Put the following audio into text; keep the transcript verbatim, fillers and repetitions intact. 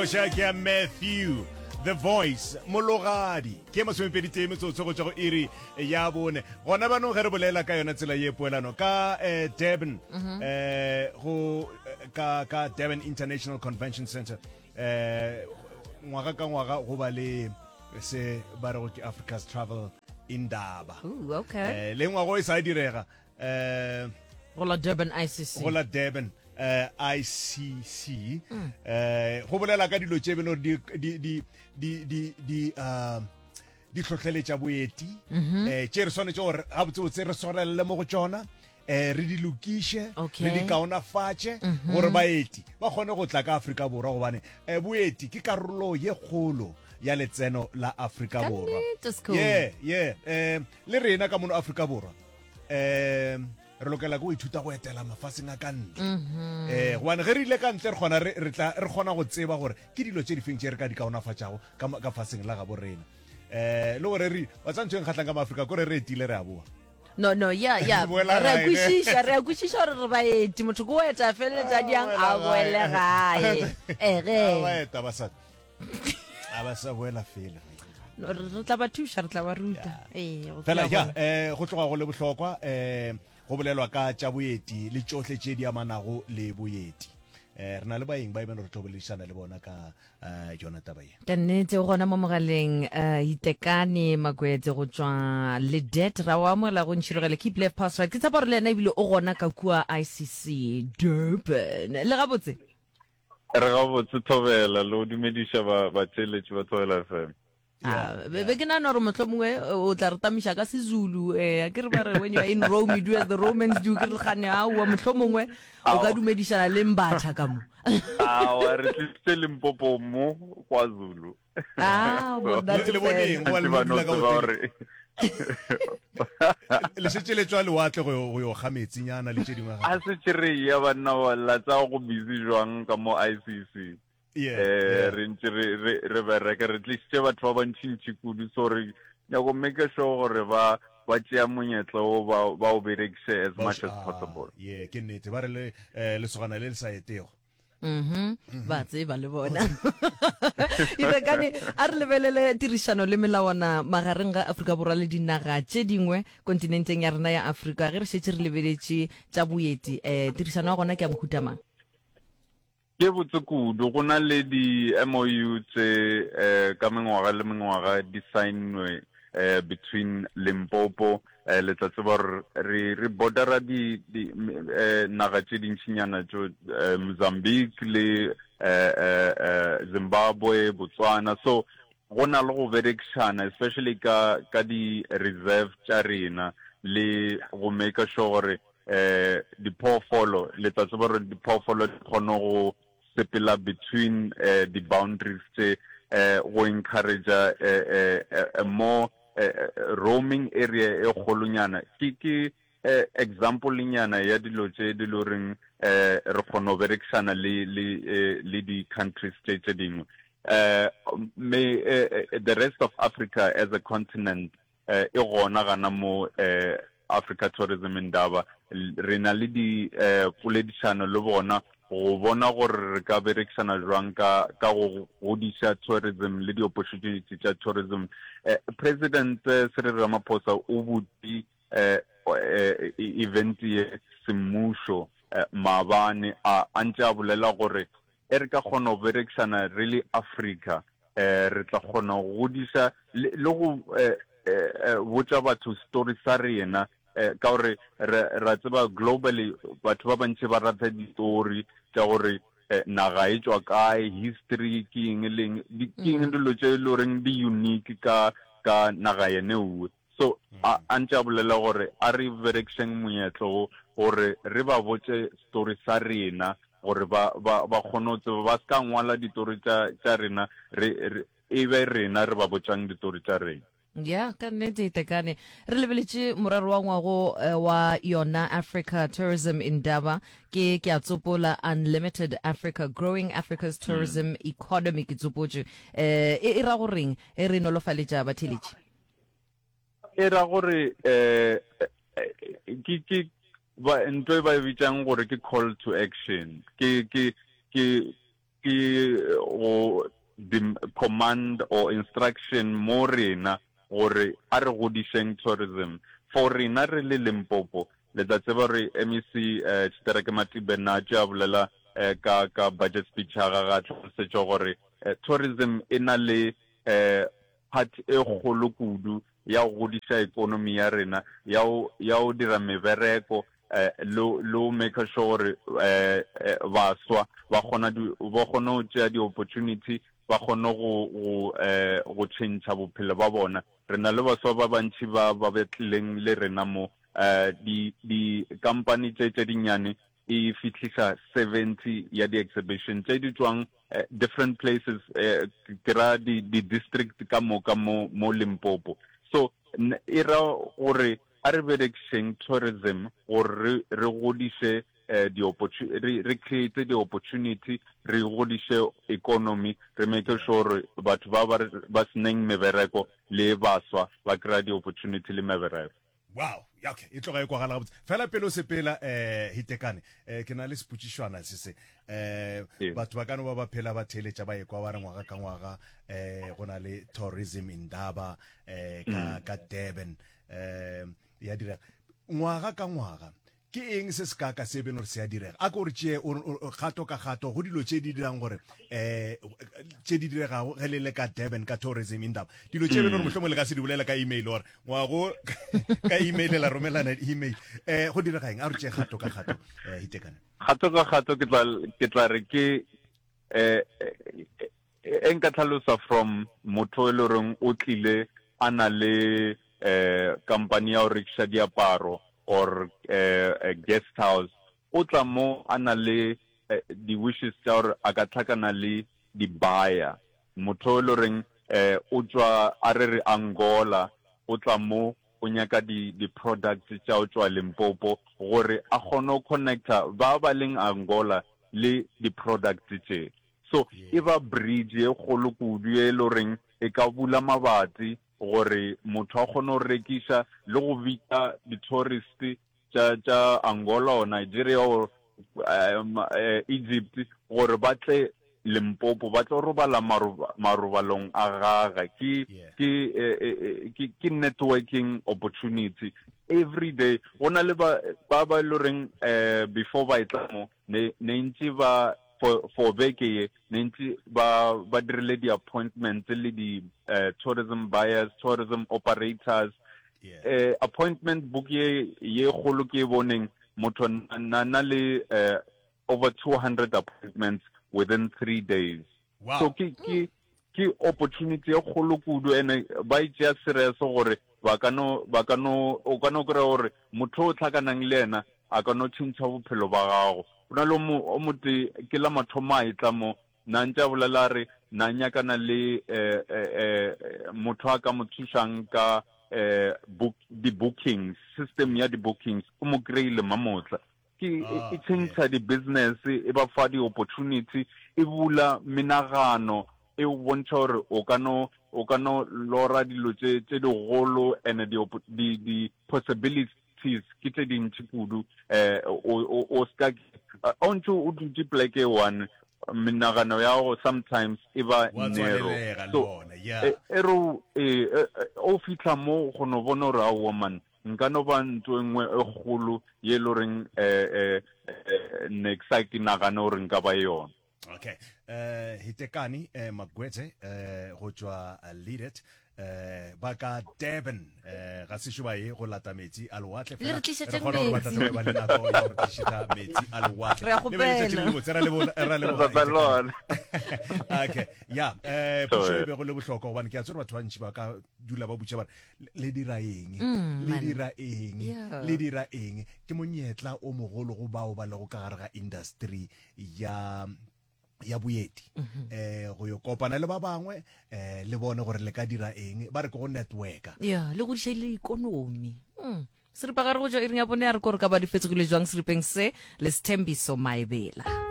Koša ke ya Matthew The Voice Mologadi ke masomepedi tee metsotso go tšwa go iri ya bone gona banong ge re bolela ka yona tsela ye poelano ka eh, Durban eh, go eh, ka ka Durban International Convention Center eh, ngwaga ka ngwaga go ba le se ba rego ke Africa's Travel Indaba. Ooh, okay. Eh, le ngwago e sa direga eh Go la Durban I C C. Go la Durban eh I C C eh go bolela ka dilo tše beno di di di di di di uh di hlohleletša boeti eh tše re swanetše gore gabotsebotse re swarelele mo go tšona, eh re di lokiše, Okay. re di kaonafatše gore baeti ba kgone go tla ka Afrika Borwa, gobane eh boeti ke karolo ye kgolo ya letseno la Afrika Ka Borwa. Nnete, Skhulu. yeah yeah eh le rena ka mono Afrika Borwa eh re lokela ke go ithuta go etela mafaseng a ka ntle eh gobane ge re ile ka ntle re kgona re re tla re kgona go tseba gore ke dilo tše difeng tše re ka di kaonafatšago ka ma- ka faseng la gabo rena. eh le gore re wa tsa ntho e nkgatlhang ka maAfrika kore re etile, re a boa. No, no, yeah yeah Boela re a gae, ne? Kwešiša, re a kwešiša gore re baeti. Motho ke o eta, feleletša diang a boele gae ege. Ba eta ba sa a ba sa boela fela. No, re re tla ba thuša, re tla ba ruta, ee, go fela tloga ya gona. eh go tloga go le bohlokwa eh go bolelwa ka tša boeti le tšohle tše di amanago le boeti. eh re na le baeng ba e beno re tlo boledišana le bona ka eh yona taba ye. Ka nnete, o gona mo mogaleng um Itekane Makwetse go tšwa Ledet. Ra o amogela go Ntšhirogele Keep Left Pass Right. Ke tshepa gore le yena ebile o gona ka kua I C C Durban. Le gabotse? Re gabotse, Thobela, le go dumediša ba batheeletši ba Thobela F M. Ah, be be ke nagana gore mohlomongwe eh, o tla re tamiša ka Sezulu. um ke re ba re when you are in Rome, you do as the Romans do. Ke re gane aowa, mohlomongwe o ka Ao. dumedišana le Mbatha ka mo. Awa, re tlisitse Limpopo mo KwaZulu. Ah, So, monate Le boneng fela. go ba le ntse no ba no dula ka tseba hoteleng gore le šetše le tswa lewatle go yo go yo ga metsinyana le tše dingwe a gape. Setse re ya banna ba la tsa go busy jwang ka mo I C C. yeah eh yeah re ntse re re re bereka, re tlisitse batho ba bantšintši kudu, so re nyako make sure gore ba ba tšea monyetla o ba ba o berekiše as ba o much as ah possible. Yeah, ke nnete, ba re le eh, lesogana le le sa etego. Mhm ba tseba le bona. Itekane, a re lebelele tirišano le melawana magareng ga Afrika Borwa le dinaga tše dingwe kontinenteng ya rena ya Afrika. Ge re šetše re lebeletše tša boeti, um tirišano ya gona ke ya mohuta mang? Ke botse kudu. Go na le di M O U tše eh, ka mengwaga le mengwaga di signwe eh, between Limpopo, eh, le tla tseba gore re re bordera di, di eh, naga tše dintšinyana tšo eh, Mozambique le eh, eh, eh, Zimbabwe, Botswana. So go na le go berekišana, especially ka ka di reserve tša rena le go make sure gore eh diphoofolo, le tla tseba gore diphoofolo di kgone go sepela between eh, di boundaries tše, eh go encourage eh, eh, eh, more eh, eh, roaming area e kgolonyana. ke ke eh, example nyana ya dilo tše di le goreng eh re kgona go berekišana le le eh, le di countries tše tše dingwe. eh me eh, eh, the rest of Africa as a continent eh e gona gana mo eh Africa Tourism Indaba. Re na le di eh poledišano le bona go bona gore re ka berekišana jwang ka ka go godiša tourism le di-opportunity tša tourism. eh, president eh, Cyril Ramaphosa o butše eh, eh, event ye semmušo eh, maabane, a a ntše a bolela gore e re ka kgona go berekišana re le Africa, eh re tla kgona go godiša le le go eh, eh, eh, botša batho story sa rena, eh, ka gore re ra tseba globally batho ba bantši ba rata ditori tša gore eh, naga e tšwa kae, history ke eng le eng, di- ke eng dilo tše e le goreng di unique ka ka naga yene uwe. So a a ntše a bolela gore a re berekišeng monyetlo wo gore re ba botše story sa rena, gore ba ba ba kgone go tseba, ba se ka ngwala ditori tša tša rena, re re e be rena re ba botšang ditori tša rena. Ya, ka nnete, Itekane, re lebeletše morero wa ngwago eh, wa yona Africa Tourism Indaba. ke ke a tsopola: "Unlimited Africa, growing Africa's tourism economy." Ke tsopotše. eh e e ra goreng e re nolofaletša batheletši? E ra gore eh ke ke ba ntho e ba e bitsang gore ke call to action, ke ke ke ke go command or instruction mo rena gore a re godišeng tourism. For rena re le Limpopo, le tla tseba gore M E C Tshitereke Matibe na tše a bolela ka ka budget speech ya gagwe a hlalosetša gore tourism e na le part e kgolo kudu ya go godiša economy ya rena, ya go ya go dira mebereko le le go make sure gore baswa ba kgona ba kgone go tšea di-opportunity, ba kgone go go go tšhentšha bophelo ba bona. Re na le baswa ba bantši ba ba tlileng le rena mo, di di-company tše tše dinnyane e fihlisa seventy ya di-exhibition tše di tšwang different places, ke ra di-district ka moka mo mo Limpopo. So e ra gore a re berekišeng tourism gore re re godiše di re re create di-opportunity, re godiše economy, re make sure gore batho ba ba ba seneng mebereko le baswa ba kry-a di-opportunity le mebereko. Wow, ya okay, e tloga e kwagala gabotse. Fela pele o sepela eh Hitekane, eh ke na le sepotšišwana se se. Eh batho ba ka no ba ba phela ba theeletša ba ekwa ba re ngwaga ka ngwaga eh go na le tourism indaba eh ka ka Durban eh ya direga. Ngwaga ka ngwaga ke eng se se kaka se beno gore se a direga? A ko re tšee kgato ka kgato go dilo tše di dirang gore eh tše di diregago ge le le ka Durban ka tourism indaba. Dilo tše beno gore mohlomongwe le ka se di bolela ka email or ngwago ka email la romelana email. Eh go direga eng? A re tšee kgato ka kgato eh Hitekane. Kgato ka kgato ke tla ke tla re ke eh e nka tlhalosa from motho e le goreng o tlile a na le eh company ya go rekiša diaparo or eh guest house, o tla mo a na le di wishes tša gore a ka tlhakana le di buyer. Motho e le goreng eh o tšwa a re re Angola, o tla mo o nyaka di di products tša go tšwa Limpopo gore a kgone go connecta ba ba leng Angola le di products tše. So e ba bridge ye kgolo kudu ye e le goreng e ka bula mabati gore motho a kgone go rekiša le go bitša di-tourist tša tša Angola or Nigeria or um, Egypt gore ba tle Limpopo ba tlo robala marobalong a gagwe. Ke ke ke ke networking opportunity every day. Go na le ba ba ba le reng eh before ba etla mo ne ne ntse ba for for beke ye ne ntse ba ba dirile di appointments le di uh, tourism buyers, tourism operators. Yeah. Eh, appointment book ye ye kgolo ke e boneng motho na na le uh, over two hundred appointments within three days. Wow. So ke ke ke opportunity e kgolo kudu, ene ba e tšea serious gore ba ka no ba ka no o ka no kry-a gore motho o tlhakanang le yena a ka no tšhentšha bophelo ba gago. O na le o motee ke la mathomo a etla mo na ntse a bolela re na nyakana le eh, eh, motho a ka mo thušang ka eh, book, di-bookings, system ya di-bookings, o mo kry-ile mamotla. Ke e tšhentšha di-business, e ba fa di-opportunity, e bula menagano, e o bontšha gore o ka no o ka no lora dilo tše tše digolo and di di possibilities ke tše dintši kudu. Eh o o ska o ntse o dutše pleke one, menagano ya go sometimes e ba narrow. So e re o fihla mo go no bona gore aowa man, nka no ba ntho e nngwe e kgolo ye e le goreng eh ne ke sa ke nagane gore nka ba yona. Okay, eh Hitekani eh Magwetse eh go tšwa Leadet eh ba ka Durban eh ga sešo ba ye go lata metsi a lewatle Le re fela tlišetšeng re kgona gore ba tla metsi. tla ba le nako ya go re tlišetša metsi a lewatle. Re a Le be letšatši le kgopela. lebotse, ra leboga ra leboga Re Hitekani. Okay, ya eh pušo e Sorry. bego le bohlokwa gobane ke a tseba batho ba ntši ba ka dula ba butša ba re le dira eng, Mm, le man. dira eng, Yeah. le dira eng. Ke monyetla o mogolo go bao ba lego ka gare ga industry ya ya boeti eh go yo kopana le ba bangwe eh le bone gore le ka dira eng, ba re ke go networka. Ya, le godiša le ikonomi. Mm. Seripagare go tšwa iring ya bone ya re ko re ka ba di fetsogile jwang seripeng se le Sthembiso Maebela.